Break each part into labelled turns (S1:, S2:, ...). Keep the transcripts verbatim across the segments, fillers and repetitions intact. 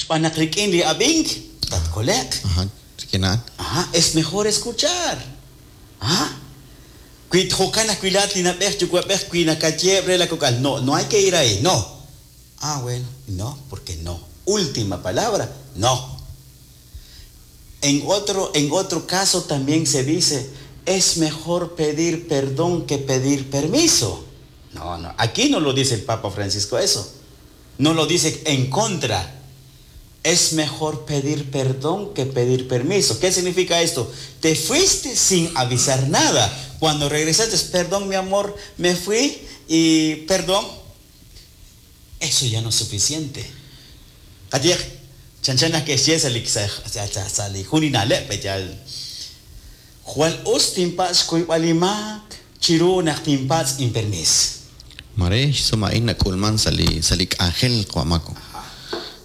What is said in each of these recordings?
S1: Xb'aan naq rik'in li ab'ink tatkole'q.
S2: Ajá, rik'in a'an.
S1: Ajá, es mejor escuchar. Ajá. Wi jo'kan ajwi' laa'at li na'b'ej yuwa'b'ej wi nakayeheb' re la kok'al, no, no hay que ir ahí, no. Ah, bueno, no, porque no. Última palabra, no. En otro, en otro caso también se dice, es mejor pedir perdón que pedir permiso. No, no, aquí no lo dice el Papa Francisco eso. No lo dice en contra. Es mejor pedir perdón que pedir permiso. ¿Qué significa esto? Te fuiste sin avisar nada. Cuando regresaste, perdón, mi amor, me fui y perdón. Eso ya no es suficiente. Qayehaq, chanchan que xye sa' li sa' li jun li na'leb' yal jwal us tinpatz' xkuyb'al li maak chiru naq tinpatz' inpermis.
S2: Mare xsum a'in nak'ulman sa' li sa' li k'anjel qwa'mako.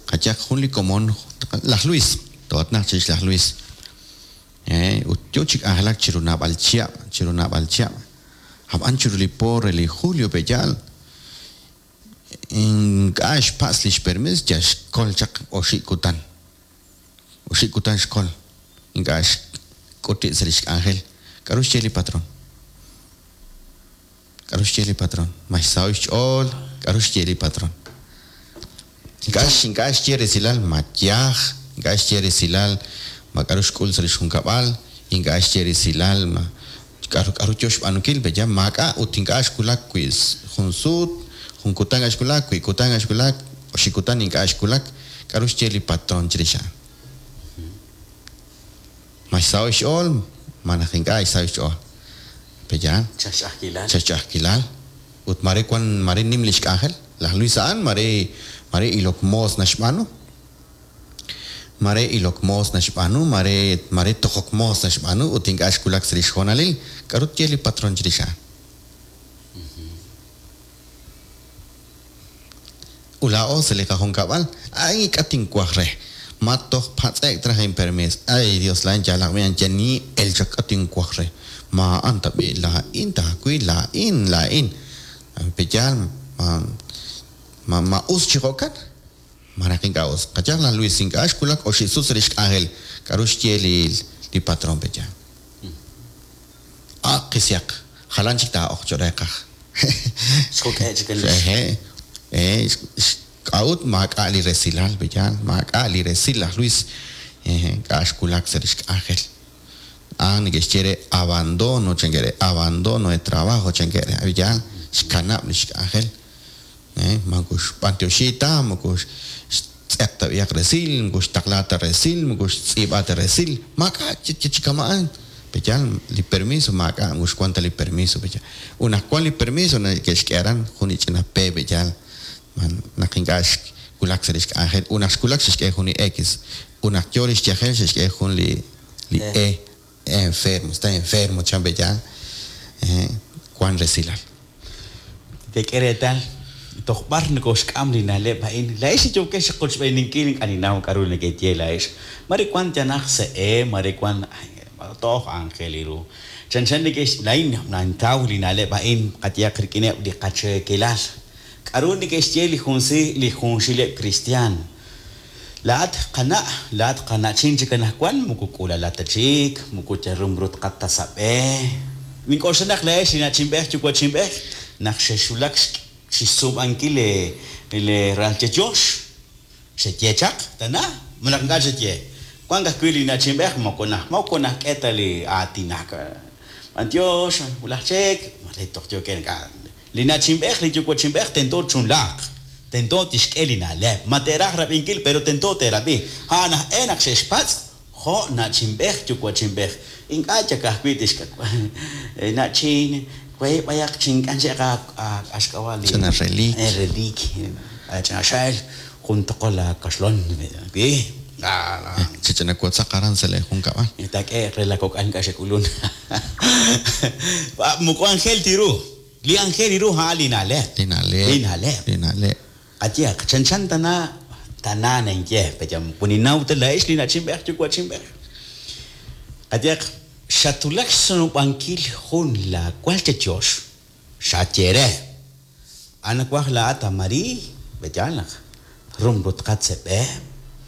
S2: Qayehaq jun li komon laj Luis, to'atnaq chirix laj Luis. Eh, ut yo chi k'anjelak chiru naab'al chihab', chiru naab'al chihab'. Ab'an chiru li po re li julio pe'yaal ink'a' xpatz' lix permis yal xkol chaq oxib' kutan. Oxib' kutan xkol. Ink'a' xk'uti' sa' lix k'anjel. K'aru xye li patrón? K'aru xye li patrón? Ma xsaho'k xch'ool, k'aru xye li patrón? Ink'a' ink'a' xye resilal ma yaj, ink'a' xye resilal ma k'aru xk'ul sa' lix junkab'al, ink'a' xye resilal ma k'aru k'aru yo xb'aanunkil, pe'ya maak'a' ut ink'a' xwulak wi' jun sut, jun kutan ink'a' xwulak, wi' kutan ink'a' xwulak, oxib' kutan ink'a' xwulak, k'aru xye li patrón chirix a'an? Ma xsaho'k xch'ool, ma naq ink'a' xsaho'k xch'ool. Pe'yaal?
S1: Ch'a'ajkilal.
S2: Ch'a'ajkilal. Ut mare wan mare nim lix k'anjel. Laj Luis a'an mare mare ilok moos naxb'aanu. Mare ilok moos naxb'aanu, mare mare tojok moos naxb'aanu ut ink'a' xwulak sa' lix hoonalil. K'aru tye li patrón chirix a'an? Ut laa'o sa' li qajunkab'al, ay ink'a' tinwaj re. Ma toj patz'ek traj inpermis. Ay Dios laa'in yalaq b'i yal ni el chaq k'a tinwaj re. Ma a'an tab'i laa'in tawi laa'in laa'in. Pe'yaal ma ma ma us chi jo'kan. Ma naq ink'a' us. Qayehaq laj Luis ink'a' xwulak oxib' sut sa' lix k'anjel. K'aru xye li li patrón pe'yaal? Ah, qisiaq. Jalan chik taa'oq cho'q reeqaj.
S1: Xjuk'e' chik el
S2: Eje, eh, k'a'ut maak'a' li resilal pe'yaal, maak'a' li resil laj Luis. Eh, ink'a' xwulak sa' lix k'anjel. Ah, neke'xye re abandono chankere, abandono de trabajo chankere. Pe'yaal, xkanab' lix k'anjel. Eh, moko xb'antioxi ta, moko xtz'eq ta b'iyaq resil, moko xtaqla ta resil, moko xtz'iib'a ta resil. Maak'a' chi kama'an. Pe'yaal, li permiso maak'a' moko xwan ta li permiso pe'yaal. Ut naq wan li permiso neke'xk'e aran jun li ch'ina P pe'yaal. Man naq ink'a' xwulak sa' lix k'anjel. Ut naq xwulak xe'xk'e jun li X. Ut naq yo lix yajel xe'xk'e jun li li E. Enfermo, está enfermo chan pe'yaal. Eh, wan resilal.
S1: Tek'e reetal toj b'ar nokoxk'am li na'leb' a'in. Laa'ex yookex xqochb'eeninkil ink'a' ninnaw k'aru nekeye laa'ex. Mare wan yanaj se'e, mare wan toj anjel iru. Chanchan neke'x laa'in nantaw li na'leb' a'in qayehaq rik'ineb' li qacheekelal. K'aru neke'xye li junsi li junxileb' cristian. Laa'at qana', laa'at qana'chin chik anaqwan moko k'ulalat ta chik, moko yarumrut qatasab'e. Nink'oxla naq laa'ex li na'chinb'ej yuwa'chinb'ej naq xexwulak xsuub'ankil le le ralchechox xeye chaq tana malaj ink'a' xeye. Wan ajwi' li na'chinb'ej moko naj moko najk'e ta li aatinak. B'antiox, wulaj chek, mare toj yookeb' ink'a'. Li na'chinb'ej li yuwa'chinb'ej tento chunlaaq. Tento tixk'e li na'leb'. Ma te'raj rab'inkil pero tento te'rab'i. A'an aj e naq xe'xpatz' jo' na'chinb'ej yuwa'chinb'ej. Ink'a' chak ajwi' tixk'ak na'chin wey b'ayaq chink'an che'q axk'ab'a' li
S2: Ch'ina reliik.
S1: Eh, reliik. Ch'ina xel jun toqol la kaxlon. Wi.
S2: Chich'ina wotzaq aran sa' li junkab'al.
S1: Tak'e re la kok'al ink'a' xek'ulun. Moko anjel tiru. Li anjel iru a'an li na'leb'.
S2: Li na'leb'.
S1: Li na'leb'.
S2: Li na'leb'.
S1: Qayehaq, chanchan tana tana ninye, pe'ya kuninaw ta laa'ex li na'chinb'ej yuwa'chinb'ej. Qayehaq, xatulak xsunub'ankil jun la walchechox, xaye re. Anawaj laa'at a Marii, pe'yaal naq rumrut qatzeb'e,